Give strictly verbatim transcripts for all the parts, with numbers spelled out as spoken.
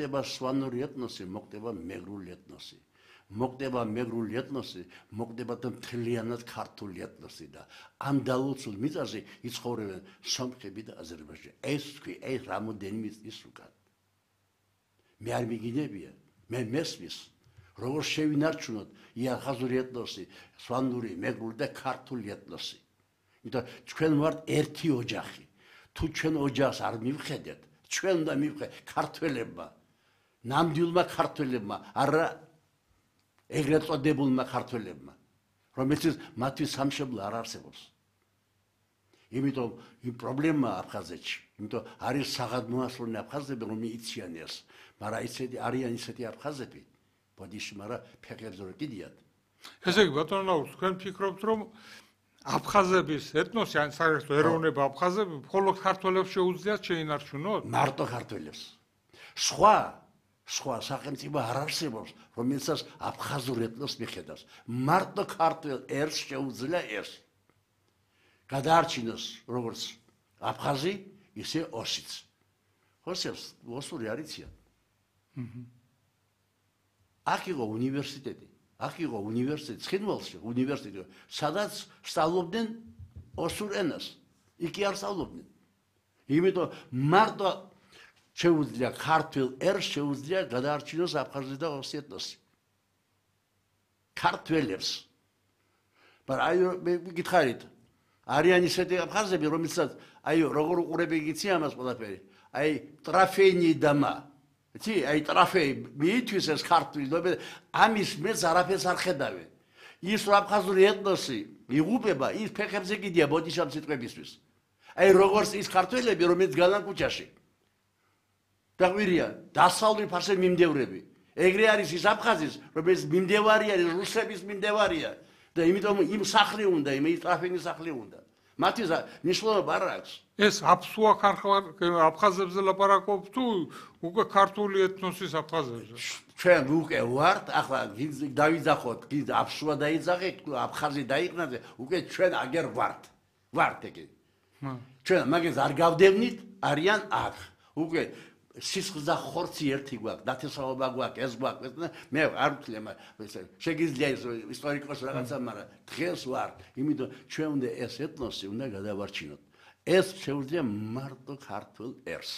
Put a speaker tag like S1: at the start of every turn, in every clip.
S1: მოხდება სვანური ეთნოსი, მოხდება მეგრული ეთნოსი. მოხდება მეგრული ეთნოსი, მოხდება მთლიანად ქართული ეთნოსი და ამ დალოცულ მიწაზე იცხოვრებენ სომხები და აზერბაიჯანელი. ეს თქვი, ეს რამოდენიმე წლის უკან. მე არ მიგინებია, მე მესმის, როგორ შევინარჩუნოთ იახაზური ეთნოსი, სვანური, მეგრული და ქართული ეთნოსი. იმიტომ ჩვენ ვართ ერთი ოჯახი. თუ ჩვენ ოჯახს არ მივხედეთ, ჩვენ უნდა მივხედეთ ქართველებმა, ნამდვილმა ქართველებმა, არა ეგრეთ წოდებულმა ქართველებმა, რომელთაც მათი სამშობლო არ არსებობს. იმიტომ იმ პრობლემაა აფხაზეთში, იმიტომ არის საღადმოასლოვნე აფხაზები, რომ იციან ეს, მაგრამ ისეთი არიან ისეთი აფხაზები, ბოდიში, მაგრამ ფეხებზე რო კიდიათ.
S2: ესე იგი, ბატონო ნაუს, თქვენ ფიქრობთ, რომ აფხაზების ეთნოსი, ან საერთოდ ეროვნება აფხაზები, მხოლოდ ქართველებს შეუძლიათ შეინარჩუნოთ?
S1: მარტო ქართველებს. სხვა სხვა სახელმწიფო არ არსებობს, რომელსაც აფხაზურ ეთნოს მიხედავს. მარტო ქართველ ერს შეუძლია ეს. გადაარჩინოს როგორც აფხაზი, ისე ოსიც. ოსებს ოსური არ იციან. აქ იყო უნივერსიტეტი. აქ იყო უნივერსიტეტი, ცხინვალში უნივერსიტეტი, სადაც სწავლობდნენ ოსურ ენას. იქ არ სწავლობდნენ. იმიტომ მარტო შეუძლია ქართულ ერს შეუძლია გადაარჩინოს აფხაზი და ოსი ეთნოსი. ქართველებს. მაგრამ აი მე გითხარით, არიან ისეთი აფხაზები, რომელსაც აი როგორ უყურები იგიცი ამას ყველაფერი. აი ტრაფეინი დამა. იცი, აი ტრაფეი მითვის ეს ქართული, ამის მეც არაფერს არ ხედავენ. ის აფხაზური ეთნოსი იღუპება, ის ფეხებზე კიდია ბოდიშამ სიტყვებისთვის. აი როგორც ის ქართველები, რომელიც განან ქუჩაში. დაგვირია, დასავლური ფარსე მიმდევრები. ეგრე არის ის აფხაზის, რომელიც მიმდევარია, რუსების მიმდევარია და იმიტომ იმ სახლი უნდა, იმ ტრაფეინის სახლი უნდა. მათი ნიშნულობა არ აქვს.
S2: ეს აფსუა აფხაზებზე ლაპარაკობ თუ უკვე ქართული ეთნოსის აფხაზებზე?
S1: ჩვენ უკვე ვართ, ახლა დავიძახოთ, აფსუა დაიძახეთ, აფხაზი დაიყნაზე, უკვე ჩვენ აგერ ვართ. ვართ ეგ. ჩვენ მაგას არ გავდევნით, არიან აქ. უკვე სისხლს და ხორცი ერთი გვაქვს, დათესაობა გვაქვს, ეს გვაქვს, მე არ ვთვლი, შეგიძლია ის ისტორიკოსი რაღაცა, მაგრამ დღეს ვარ, იმიტომ ჩვენ უნდა ეს ეთნოსი უნდა გადავარჩინოთ. ეს შეუძლია მარტო ქართულ ერს.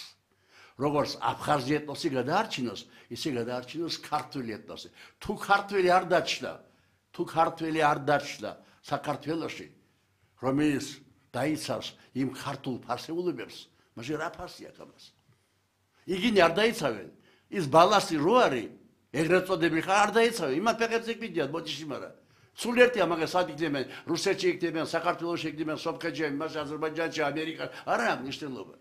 S1: როგორც აფხაზი ეთნოსი გადაარჩინოს, ისე გადაარჩინოს ქართული ეთნოსი. თუ ქართველი არ დაჩნდა, თუ ქართველი არ დაჩნდა საქართველოში, რომელიც დაიცავს იმ ქართულ ფარსეულებებს, მაშინ რა ფასი აქვს ამას? იგინი არ დაიცავენ. ის ბალასი რო არის, ეგრეთ წოდებული ხარ არ დაიცავენ. იმათ ფეხებზე კიდიათ ბოდიში, მაგრამ სულ ერთია მაგას სად იქნებიან, რუსეთში იქნებიან, საქართველოში იქნებიან, სომხეთში, იმაში, აზერბაიჯანში, ამერიკაში, არ აქვს მნიშვნელობა.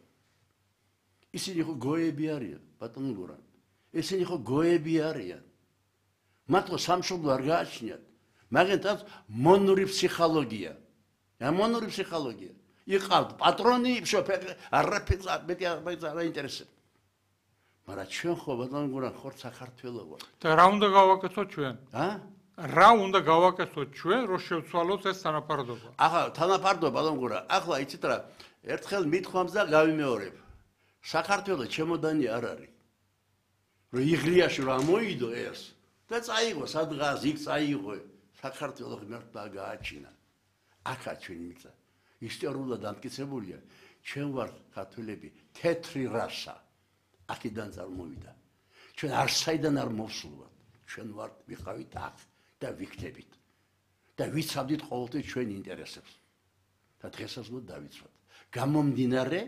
S1: ისინი ხო გოები არიან, ბატონო გურან. ისინი ხო გოები არიან. მათო სამშობლო არ გააჩნიათ. მაგენთან მონური ფსიქოლოგია. რა მონური ფსიქოლოგია? იყავთ პატრონი, არაფერს მეტი არ აინტერესებს. მაგრამ ჩვენ ხო ბატონო გურან ხორ საქართველოს ვართ.
S2: და რა უნდა გავაკეთოთ ჩვენ?
S1: ა?
S2: რა უნდა გავაკეთოთ ჩვენ, რომ შევცვალოთ ეს თანაფარდობა?
S1: ახლა თანაფარდობა ბატონო გურან, ახლა იცით რა, ერთხელ მithქვამს და გავიმეორებ. საქართველოს ჩემოდანი არ არის. რომ იღლიაში რა მოიდო ეს და წაიღო სადღაც იქ წაიღო. საქართველოს ღმერთმა გააჩინა. აქა ჩვენი მიწა. ისტორიულად დამტკიცებულია, ჩვენ ვართ ქართველები, თეთრი რასა. აქედან წარმოვიდა. ჩვენ არსაიდან არ მოვსულვართ. ჩვენ ვართ ვიყავით აქ და ვიქნებით. და ვიცავდით ყოველთვის ჩვენ ინტერესებს. და დღესაც უნდა დავიცვათ. გამომდინარე,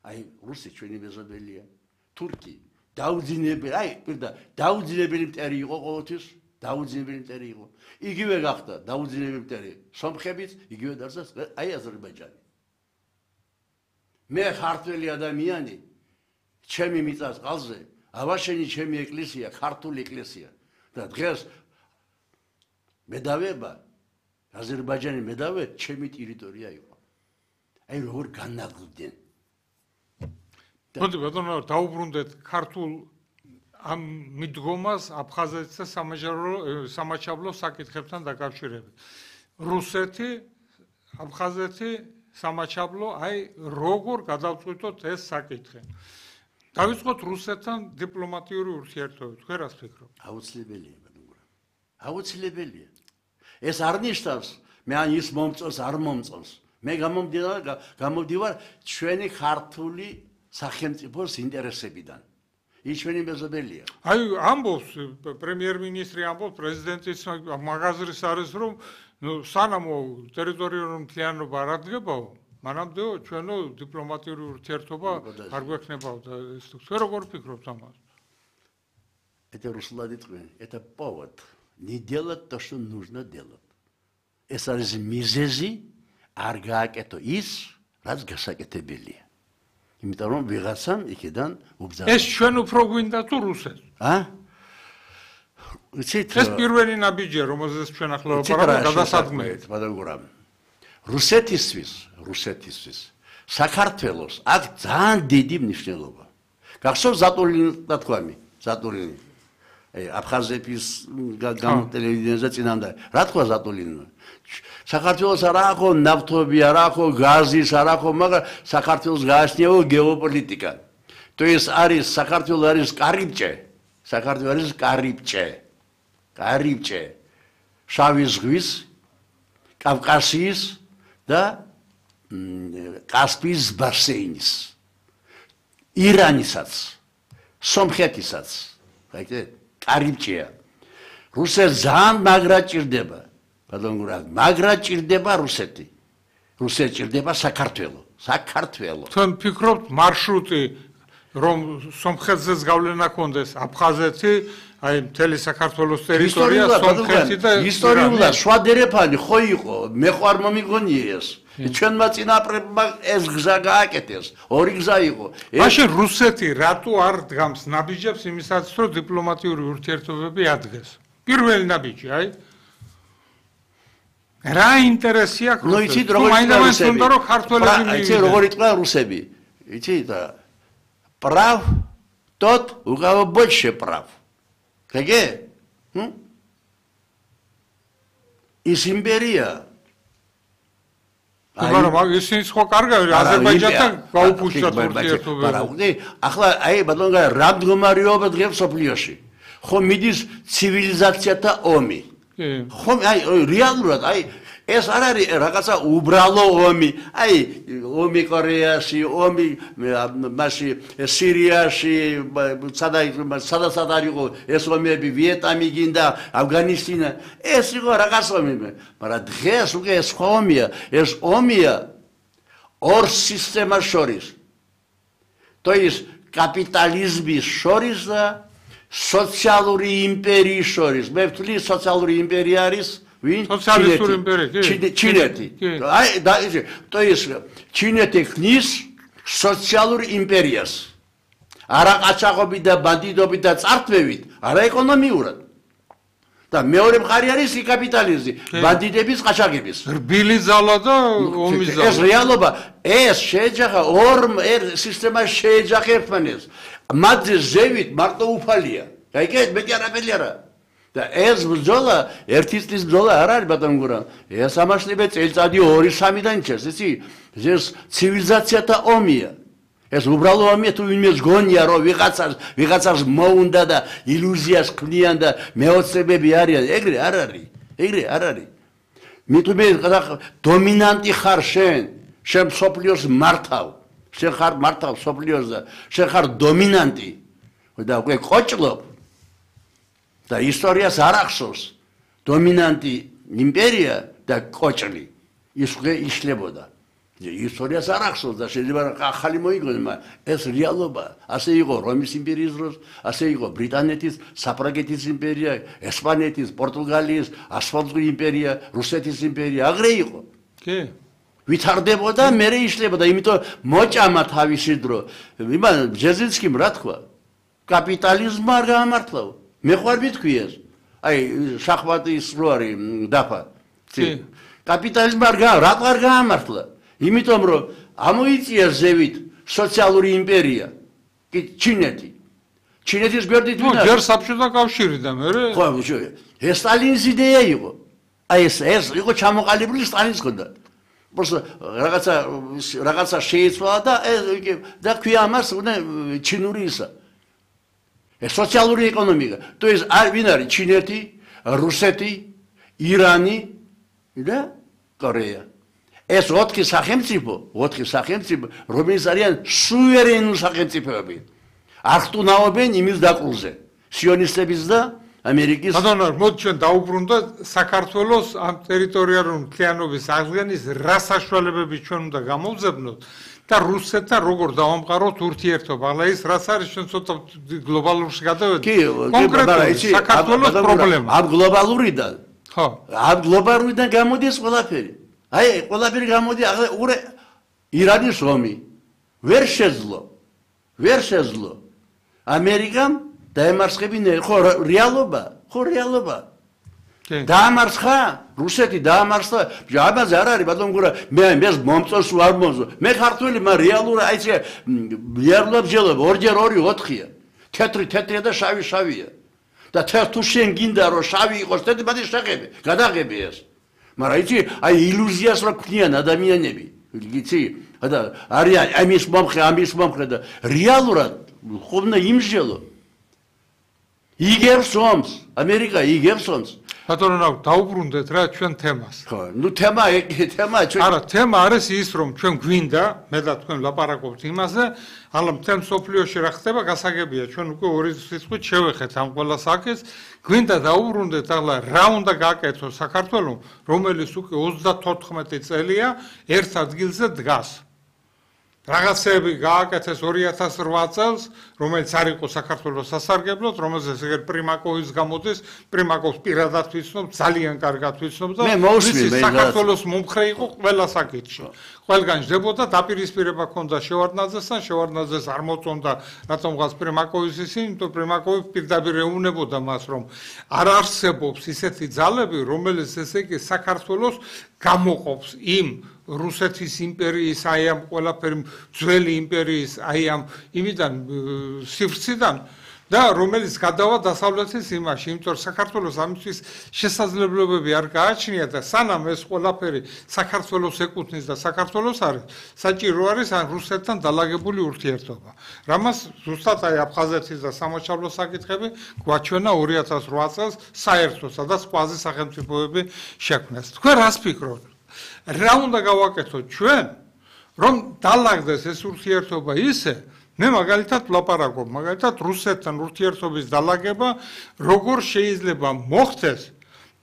S1: აი რუსი ჩვენი მეზობელია, თურქი, დაუძინებელი, აი პირდა, დაუძინებელი მტერი იყო ყოველთვის, დაუძინებელი მტერი იყო. იგივე გახდა დაუძინებელი მტერი სომხებიც, იგივე დარჩა აი აზერბაიჯანი. მე ქართველი ადამიანი ჩემი მიწას ყალზე, ავაშენი ჩემი ეკლესია, ქართული ეკლესია და დღეს მედავება, აზერბაიჯანი მედავე ჩემი ტერიტორია იყო. აი როგორ განაგლდნენ.
S2: მოდი ბატონო, დაუბრუნდეთ ქართულ ამ მიდგომას აფხაზეთსა სამაჯარო სამაჩაბლო საკითხებთან დაკავშირებით. რუსეთი, აფხაზეთი, სამაჩაბლო, აი როგორ გადავწყვიტოთ ეს საკითხი? დავიწყოთ რუსეთთან დიპლომატიური ურთიერთობები, თქვენ რას ფიქრობთ?
S1: აუცილებელია, ბატონო. აუცილებელია. ეს არ ნიშნავს, მე ან ის მომწონს, არ მომწონს. მე გამომდივარ, გამომდივარ ჩვენი ქართული სახელმწიფოს ინტერესებიდან. ის ჩვენი მეზობელია.
S2: აი, ამბობს პრემიერ-მინისტრი ამბობს, პრეზიდენტის მაღაზრის არის, რომ ნუ სანამო ტერიტორიული მთლიანობა არ ადგებაო, მანამდეო ჩვენო დიპლომატიური ურთიერთობა არ გვექნებაო და ეს თქვენ როგორ фикრობთ ამას?
S1: Это Руслан Итвин, это повод не делать то, что нужно делать. ეს არის მიზეზი არ გააკეთო ის, რაც გასაკეთებელია. იმიტომ რომ ვიღაცამ იქიდან უბრძანა.
S2: ეს ჩვენ უფრო გვინდა თუ რუსეთს?
S1: ა? იცით?
S2: ეს პირველი ნაბიჯია, რომელზეც ჩვენ ახლა ვაპარაკობთ, გადასადგმელი.
S1: ბატონო, რუსეთისთვის, რუსეთისთვის საქართველოს აქ ძალიან დიდი მნიშვნელობა. გახსოვს ზატულინი თქვამი, ზატულინი. აი, აფხაზეთის გამოტელევიზიაზე წინამდე. რა თქვა ზატულინმა? საქართველოს არ აქვს ნავთობი, არ აქვს გაზი, არ აქვს, მაგრამ საქართველოს გააჩნია გეოპოლიტიკა. То есть არის საქართველოს არის კარიბჭე, საქართველოს არის კარიბჭე. კარიბჭე. შავი ზღვის, კავკასიის და კასპიის ბასეინის. ირანისაც, სომხეთისაც. გაიგეთ? კარიბჭეა. რუსეთს ძალიან მაგრა ჭირდება. ბატონო, მაგრა ჭირდება რუსეთი. რუსეთი ჭირდება საქართველო. საქართველო.
S2: თქვენ ფიქრობთ მარშრუტი რომ სომხეთზეც გავლენა ქონდეს აფხაზეთი, აი მთელი საქართველოს ტერიტორია სომხეთი და
S1: ისტორიულად შვადერეფანი ხო იყო, მე ხო არ მომიგონია ეს. ჩვენმა წინაპრებმა ეს გზა გააკეთეს, ორი გზა იყო.
S2: მაშინ რუსეთი რატო არ დგამს ნაბიჯებს იმისაც, რომ დიპლომატიური ურთიერთობები ადგეს? პირველი ნაბიჯი, აი რა ინტერესი აქვს?
S1: ნუ იცით როგორ
S2: უნდა რომ ქართველები მივიდნენ.
S1: იცით როგორ იტყვა რუსები? იცით прав тот, у кого больше прав. Какие? Из империя.
S2: მაგრამ ისინი სხვა კარგავი აზერბაიჯანთან გაუფუჭდათ ურთიერთობები.
S1: მაგრამ ახლა აი ბატონო რა მდგომარეობა დღეს სოფლიოში. ხო მიდის ცივილიზაციათა ომი. ხო აი რეალურად აი ეს არ არის რაღაცა უბრალო ომი. აი ომი კორეაში, ომი მასში სირიაში, სადაც არ იყო ეს ომები, ვიეტნამი გინდა, ავგანისტანი. ეს იყო რაღაც ომი. მაგრამ დღეს უკვე ეს სხვა ომია. ეს ომია ორ სისტემას შორის. То есть კაპიტალიზმის შორის და სოციალური იმპერიის შორის. მე ვთვლი სოციალური იმპერია არის ვინ?
S2: სოციალისტური იმპერია,
S1: ჩინეთი. აი და ისე, то есть ჩინეთი ხნის სოციალურ იმპერიას. არა ყაჩაღობით და ბანდიტობით და წართვევით, არა ეკონომიურად. და მეორე მხარე არის კაპიტალიზმი, ბანდიტების, ყაჩაღების.
S2: რბილი ძალა და ომის ძალა.
S1: ეს რეალობა, ეს შეეჯახა ორ სისტემას შეეჯახა ერთმანეთს. მათზე ზევით მარტო უფალია. გაიგეთ, მეტი არაფერი არა. და ეს ბრძოლა, ერთი წლის ბრძოლა არ არის ბატონო გურა. ეს ამაშლიბე წელიწადი ორი სამიდან ჩერს, იცი? ეს ცივილიზაციათა ომია. ეს უბრალო ომია თუ ვინმეს გონია რომ ვიღაცას ვიღაცას მოუნდა და ილუზიას ქმნიან და მეოცნებები არიან, ეგრე არ არის. ეგრე არ არის. მithume დომინანტი ხარ შენ, შენ სოფლიოს მართავ. შენ ხარ მართავ სოფლიოს და შენ ხარ დომინანტი. და უკვე ყოჭლობ. და ისტორიას არ ახსოვს დომინანტი იმპერია და კოჭლი ის უკვე იშლებოდა. ისტორიას არ ახსოვს და შეიძლება ახალი მოიგონოს, მაგრამ ეს რეალობა. ასე იყო რომის იმპერიის დროს, ასე იყო ბრიტანეთის, საფრანგეთის იმპერია, ესპანეთის, პორტუგალიის, ასპანეთის იმპერია, რუსეთის იმპერია, აგრე იყო.
S2: კი.
S1: ვითარდებოდა, მერე იშლებოდა, იმიტომ მოჭამა თავისი დრო. იმან ბჟეზინსკიმ რა თქვა? კაპიტალიზმმა არ გაამართლა. მე ხوار ვიტყვი ეს. აი შახვატის რო არის დაფა.
S2: კი.
S1: კაპიტალიზმი არ გა, რა არ გაამართლა? იმიტომ რომ ამოიწია ზევით სოციალური იმპერია. კი ჩინეთი. ჩინეთის გვერდით ვინ არის?
S2: ჯერ საბჭოთა კავშირი და მე
S1: ხო, ეს სტალინის იდეა იყო. აი ეს ეს იყო ჩამოყალიბებული სტალინის ხონდა. просто რაღაცა რაღაცა შეიცვალა და და ქვია ამას უნდა ჩინური ისა. ეს სოციალური ეკონომიკა. То есть არ ვინ არის ჩინეთი, რუსეთი, ირანი და კორეა. ეს ოთხი სახელმწიფო, ოთხი სახელმწიფო, რომელიც არიან სუვერენული სახელმწიფოები. არ ხტუნაობენ იმის დაკლუზე. სიონისტების და ამერიკის.
S2: ბატონო, მოდი ჩვენ დაუბრუნდა საქართველოს ამ ტერიტორიალური მთლიანობის აღდგენის რა საშუალებები ჩვენ უნდა გამოვძებნოთ და რუსეთთან როგორ დავამყაროთ ურთიერთობა. ახლა ის რაც არის ჩვენ ცოტა გლობალურში გადავედი. კონკრეტულად საქართველოს პრობლემა.
S1: ამ გლობალურიდან.
S2: ხო.
S1: ამ გლობალურიდან გამოდის ყველაფერი. აი, ყველაფერი გამოდი, ახლა ურე ირანის ომი ვერ შეძლო. ვერ შეძლო. ამერიკამ დაემარცხებინა, ხო, რეალობა, ხო, რეალობა. დაამარცხა, რუსეთი დაამარცხა, ამაზე არ არის, ბატონო გურა, მე მეს მომწონს არ მომწონს. მე ქართველი, მაგრამ რეალური აი ეს რეალურად ჯელობა, ორჯერ ორი ოთხია. თეთრი თეთრია და შავი შავია. და თუ შენ გინდა რომ შავი იყოს, თეთრი მადი შეღები, გადაღები ეს. მაგრამ იცი, აი ილუზიას რა ქმნიან ადამიანები. იცი? და არიან ამის მომხრე, ამის მომხრე და რეალურად ხომ იმჟელო. იგებს ომს, ამერიკა იგებს ომს.
S2: ბატონო, დაუბრუნდეთ რა ჩვენ თემას.
S1: ხო, ნუ თემა თემა ჩვენ
S2: არა, თემა არის ის რომ ჩვენ გვინდა, მე და თქვენ ლაპარაკობთ იმაზე, αλλά მთელ მსოფლიოში რა ხდება, გასაგებია, ჩვენ უკვე ორი სიტყვით შევეხეთ ამ ყველა საკითხს. გვინდა დაუბრუნდეთ ახლა რა უნდა გააკეთოს საქართველოს, რომელიც უკვე ოცდათოთხმეტი წელია ერთ ადგილზე დგას. რაღაცები გააკეთეს ორი ათას რვა წელს, რომელიც არ იყო საქართველოს სასარგებლოდ, რომელზეც ეგერ პრიმაკოვის გამოდის, პრიმაკოვს პირადად ვიცნობ, ძალიან კარგად ვიცნობ და საქართველოს მომხრე იყო ყველა საკითხში. ყველგან ჯდებოდა დაპირისპირება ჰქონდა შევარდნაძესთან, შევარდნაძეს არ მოწონდა რატომღაც პრიმაკოვის ისინი, იმიტომ პრიმაკოვი პირდაპირ ეუბნებოდა მას, რომ არ არსებობს ისეთი ძალები, რომელიც ესე იგი საქართველოს გამოყოფს იმ რუსეთის იმპერიის, აი ამ ყველაფერი ძველი იმპერიის, აი ამ იმიდან სივრციდან და რომელიც გადავა დასავლეთის იმაში, იმიტომ რომ საქართველოს ამისთვის შესაძლებლობები არ გააჩნია და სანამ ეს ყველაფერი საქართველოს ეკუთვნის და საქართველოს არის, საჭირო არის ან რუსეთთან დალაგებული ურთიერთობა. რამაც ზუსტად აი აფხაზეთის და სამოჩაბლოს საკითხები გვაჩვენა ორი ათას რვა წელს საერთო სადაც კვაზი სახელმწიფოები შექმნეს. თქვენ რას ფიქრობთ? რა უნდა გავაკეთოთ ჩვენ, რომ დალაგდეს ეს ურთიერთობა ისე, მე მაგალითად ვლაპარაკობ, მაგალითად რუსეთთან ურთიერთობის დალაგება როგორ შეიძლება მოხდეს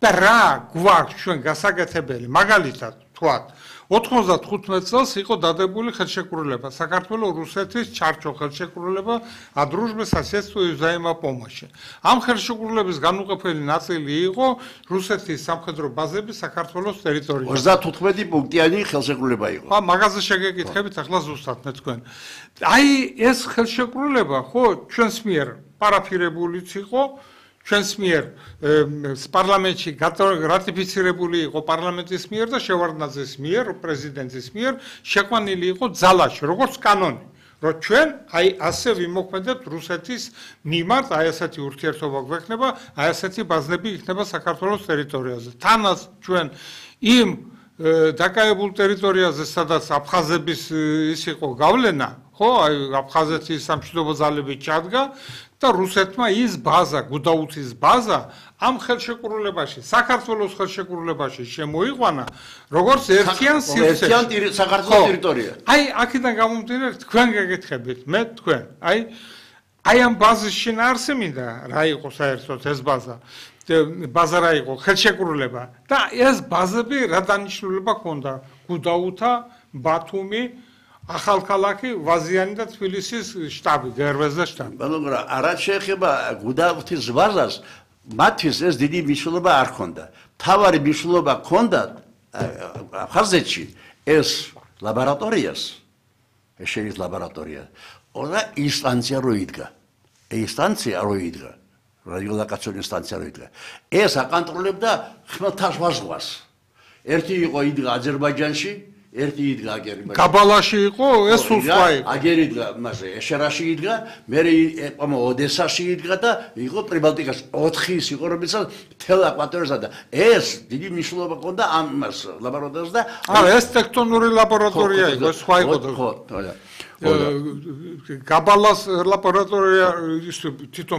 S2: და რა გვაქვს ჩვენ გასაკეთებელი, მაგალითად თქვათ, ოთხმოცდათხუთმეტ წელს იყო დადებული ხელშეკრულება, საქართველოს-რუსეთის ჩარჩო ხელშეკრულება о дружбе, соседстве и взаимопомощи. ამ ხელშეკრულების განუყოფელი ნაწილი იყო რუსეთის სამხედრო ბაზები საქართველოს ტერიტორიაზე.
S1: ოცდათოთხმეტი პუნქტიანი ხელშეკრულება იყო.
S2: ხა, მაგაზე შეგეკითხებით ახლა ზუსტად მე თქვენ. აი ეს ხელშეკრულება ხო ჩვენს მიერ პარაფირებულიც იყო, ჩვენს მიერ პარლამენტში რატიფიცირებული იყო პარლამენტის მიერ და შევარდნაძის მიერ, პრეზიდენტის მიერ შეყვანილი იყო ძალაში, როგორც კანონი, რომ ჩვენ აი ასე ვიმოქმედებთ რუსეთის მიმართ, აი ასეთი ურთიერთობა გვექნება, აი ასეთი ბაზნები იქნება საქართველოს ტერიტორიაზე. თანაც ჩვენ იმ დაკავებულ ტერიტორიაზე, სადაც აფხაზების ის იყო გავლენა, ხო, აი აფხაზეთის სამშვიდობო ძალები ჩადგა და რუსეთმა ის ბაზა, გუდაუთის ბაზა ამ ხელშეკრულებაში, საქართველოს ხელშეკრულებაში შემოიყვანა, როგორც ერთიან სივრცეში.
S1: ერთიან საქართველოს ტერიტორია.
S2: აი, აქედან გამომდინარე, თქვენ გეკითხებით, მე თქვენ, აი, აი ამ ბაზის შინაარსი მინდა, რა იყო საერთოდ ეს ბაზა. ბაზა რა იყო, ხელშეკრულება და ეს ბაზები რა დანიშნულება ჰქონდა? გუდაუთა, ბათუმი, ახალქალაქი, ვაზიანი და თბილისის შტაბი, გერვეზდა შტაბი.
S1: ბატონო, რაც შეეხება გუდაუთის ბაზას, მათთვის ეს დიდი მნიშვნელობა არ ჰქონდა. მთავარი მნიშვნელობა ჰქონდა აფხაზეთში ეს ლაბორატორიას, ეს შეის ლაბორატორია. ორა ინსტანცია როიდგა. ინსტანცია როიდგა. რადიოლოკაციური ინსტანცია როიდგა. ეს აკონტროლებდა ხმელთაშუა ზღვას. ერთი იყო იდგა აზერბაიჯანში, ერთი იდგა აგერ იმაში.
S2: გაბალაში იყო, ეს სულ სხვა იყო.
S1: აგერ იდგა მასე ეშერაში იდგა, მერე ყომა ოდესაში იდგა და იყო პრიბალტიკაში. ოთხი ის იყო, რომელსაც მთელ აკვატორიასა და ეს დიდი მნიშვნელობა ჰქონდა ამ მას ლაბორატორიას და
S2: აა ეს ტექტონური ლაბორატორია იყო, სხვა იყო.
S1: ხო, ხო.
S2: გაბალას ლაბორატორია ის თვითონ